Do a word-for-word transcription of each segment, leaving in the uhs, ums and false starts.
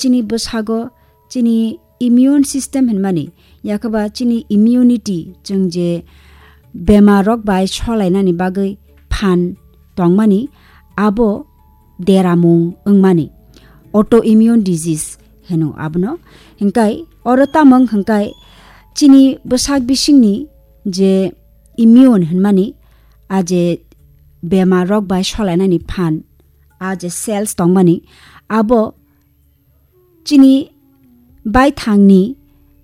chini bwsago chini immune system hinmani, yakhaba chini immunity, chwng je bemar rok bai solainani bagwi phan tongmani, abo deramung wngmani, autoimmune disease heno abono. Hinkai oro tamung hinkai chini bwsak bisingni je immune hinmani, a je bemar rok bai solainani phan, a je cells tongmani, abo chini baithangni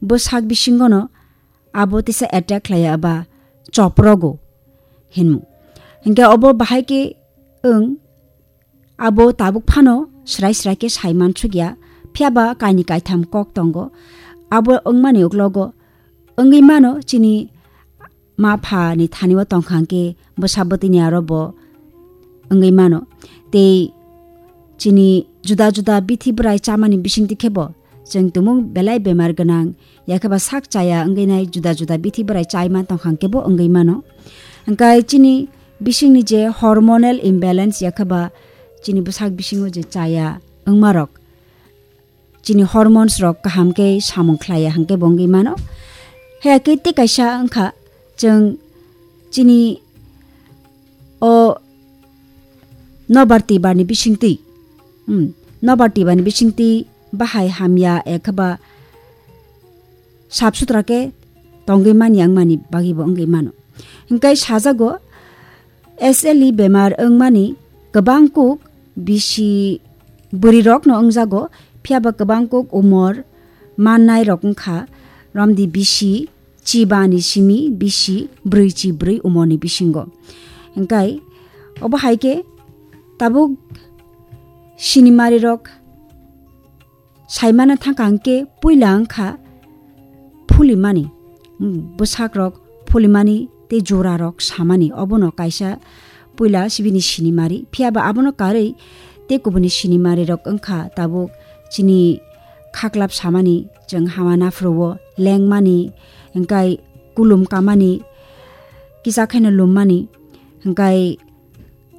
bwsak bisingono abo tisa attack khlaiya ba choprogo hinmu. Hinkhe obo bahai khe wng abo tabuk phano srai srai khe sai mansukya, phiyaba kaini kaitham kok tongo. Abo wngmani uklogo wngwi mano chini ma pha ni thani o tong kha hwnkhe bwsa bwtwi ni aro bo wngwi mano. Tei chini juda juda bithi bwrai chamani bisingtwi khe bo chwng tumung belai bemar gwnang, yakheba sak chaya wngwi nai juda juda bithi bwrai chai man tong kha hwnkhe bo wngwi mano. Hwnkhe chini bisingni je hormonal imbalance, yakheba chini bwsak bisingo je chaya wngma rok, chini hormones rok kaham khe samung khlaiya hwnkhe bo wngwi mano. Haya khe tei kaisa wngkha, chwng chini o nobar twibar ni bisingtwi, hmm, nobar twibar ni bisingtwi bahai hamya ekheba sap sutra khe tongwi manya wngmani bagwi bo wngwi mano. Hwnkhe sajago, S L E bemar wngmani kwbang kuk bisi bwrwi rokno wngjago, phiyaba kwbang kuk umor mannai rok wngkha romdi bisi chiba ni simi bisi brwi chi brwi umor ni bisingo. Hwnkhe obo hai khe tabuk sinimari rok saimana thangkha hwnkhe puila wngkha phulimani, mm, bwsakrok phulimani tei jurarok samani, obono kaisa puila sibini sinimari. Phiyaba abono karwi tei kubuni sinimarirok wngkha tabuk chini khaklap samani, chwng hama naphuru-o lengmani, hwnkhe kulum kamani, kisa kheno lummani, hwnkhe,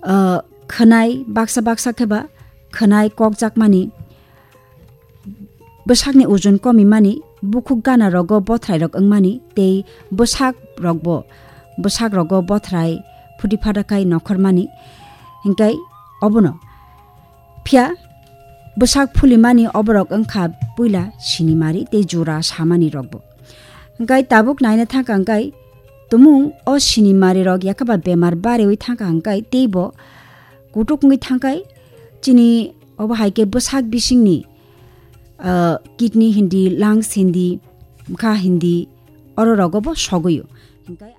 ah, khwnai baksa baksa kheba khwnai kokjakmani, bwsakni ojon komimani, bukhuk gana rogo bothrai rok wngmani, tei bwsak rokbo, bwsak rogo bothrai phuti phata khai nokhormani, hwnkhe obono. Phiya bwsak phulimani oborok wngkha puila sinimari tei jura samani rokbo. Hwnkhe tabuk naina thangkha hwnkhe tumung o sinimari rok yakhaba bemar barewi thangkha hwnkhe teibo kutuk wngwi thangkhe chini obo hai khe bwsak bisingni, ah, kidney hindi, lungs hindi, bwkha hindi, oro rogo bo sogwi o. Hwnkhe